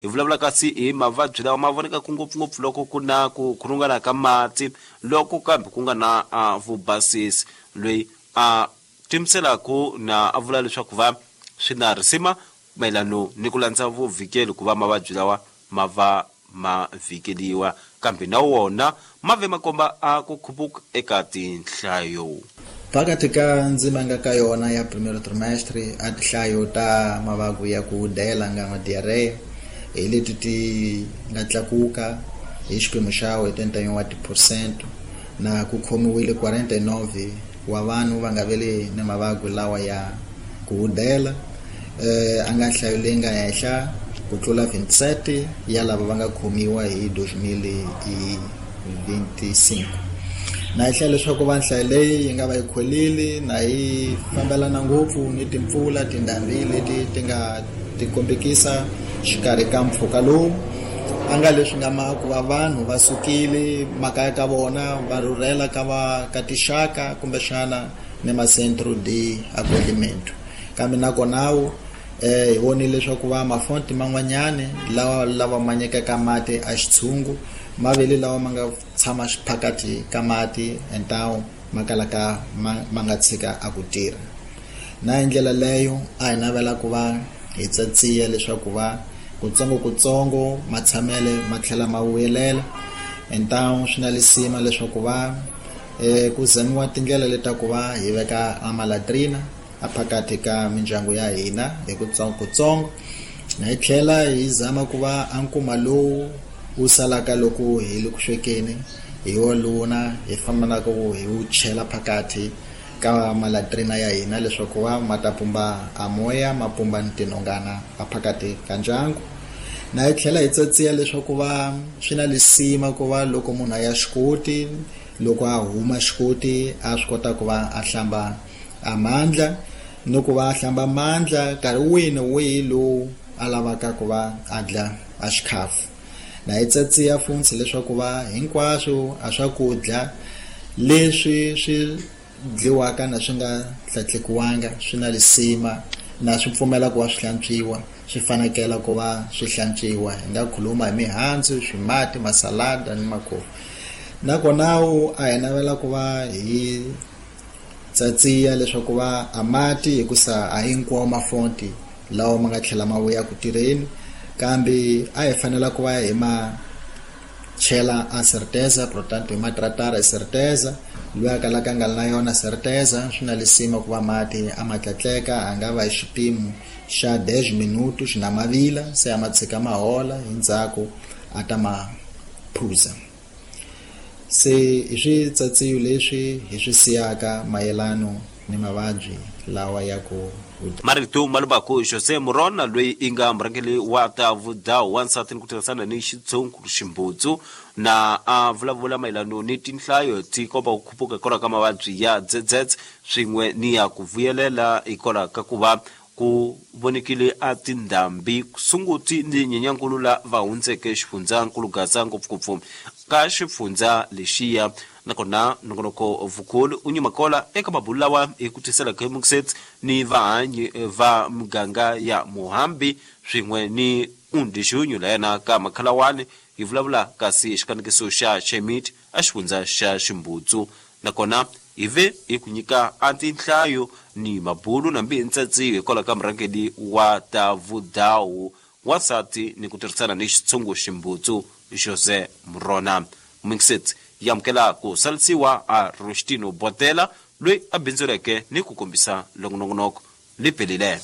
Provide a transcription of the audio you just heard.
Hi vulavula kasi hi mavabyi lawa ma vonekaka ngopfungopfu loko ku na ku khulungana ka mati loko kambe ku nga na a vubasisi. Loyi a timiselaka na a vula leswaku va swi na risima mayelano ni ku landza vuvhikeli ku va mavabyi lawa ma va ma vhikeliwa, kambe na wona ma ve ma komba a ku khupuka eka tinhlayo. Phakathi ka ndzima nga ka yona ya primeiro trimestre, a tinhlayo ta mavabyi ya ku hudela nga ma diarrhea hi leti ti nga tlakuka hi xiphemu xa 81 wa tiphesente, na ku khomiwile 49 wa vanhu va nga vele ni mavabyi lawa ya ku hudela, a nga nhlayo leyi nga henhla ku tlula 27 ya lava va nga khomiwa hi 2025. Na yi hlaya leswaku va nhlayo leyi yi nga va yi kholile na yi fambelana ngopfu ni timpfula tindhambi leti ti nga ti kombekisa xikarhi ka mpfhuka lowu, a nga leswi nga ma ku va vanhu va sukile makaya ka vona va rhurhela ka va ka tixaka kumbexana ni ma-centro de acolhimento. Kambe nakona hi vonile leswaku va mafonti man'wanyani lawa lava ma nyikaka mati a xitshungu ma vele lawa ma nga tshama phakathi ka mati então ma kalaka ma nga tshika a ku tirha. Na hi ndlela leyo a hi navela ku va hi tsatsiya leswaku va kutsongokutsongo matshamele ma tlhela ma vuyelela, então swi na lisima leswaku va ku zamiwa tindlela leta ku va hi veka a malatrina a phakathi ka mindyangu ya hina hi kutsongokutsongo, na hi tlhela hi zama ku va a nkuma lowu wu salaka loko hi le ku swekeni hi wo luna hi famba ku hi wu chela phakathi ka malatrina ya hina leswaku va ma ta pumba a moya ma pumba ni tinhongana a phakathi ka ndyangu. Na hi tlhela hi tsatsiya leswaku va swi na lisima ku va loko munhu a ya xikoti, loko a huma xikoti a swi kota ku va a hlamba a mandla, ni ku va a hlamba mandla nkarhi wihi ni wihi lowu a lavaka ku va a dla a xikhafu. Na hi tsatsiya funtshi leswaku va hinkwaswo a swakudya leswi swi dliwaka na swi nga hlatlekiwanga swi na lisima na swi pfumela ku va swi hlantswiwa, swi fanekela ku va swi hlantswiwa. Hi nga khuluma hi mihandzu, swimati, masalada ni makofi. Nakona a hi navela ku va hi tsatsiya leswaku va a mati hikusa a hinkwawo mafonti lawa ma nga tlhela ma vuya ku tirheni, kambe a hi fanela ku va hi ma chela a certeza, portanto hi ma tratara certeza. Loyi a kalaka a nga ri na yona certeza, swi na lisima ku va mati a ma tlatleka, a nga va hi xipimo xa 10 minutos na mavila, se a ma tshika ma hola, hi ndzhaku a ta ma phuza. Se hi switsatsiyo leswi hi swi siyaka mayelano ni mavabyi lawa ya ku Marito Malubaku Jose Murona loyi i nga murhangeri wa ta vudhawu wansati ni ku tirhisana ni xitshungu ximbutsu na a vulavula mayelano ni tinhlayo ti komba ku khupuka hikwalaho ka mavabyi ya dzedzedze swin'we ni ya ku vuyelela hikwalaho ka ku va ku vonekile a tindhambi sunguti ni nyenyankulu la va hundzeke xifundzankulu Gaza ngopfungopfu ka xifundza lexiya. Nakona nongonoko vukulu u nyima kola eka mabulu lawa hi ku tisela Khemuxet ni vahanyi va muganga ya Muhambi swin'we ni Undixunyu la yena ka Makhalawani hi vulavula kasi xikanekiso xa Chemit a xifundza xa Ximbutsu. Nakona hi ve hi ku nyika a tinhlayo ni mabulu nambi hi ntsatsiyo hikwalaho ka murhangeri wa ta vudhawu wansati ni ku tirhisana ni xitshungu Ximbutsu Jose Murona. Mixit yi amukela ku salisiwa a Rostino Botela loyi a bindzuleke ni ku kombisa longonongonoko li pelile.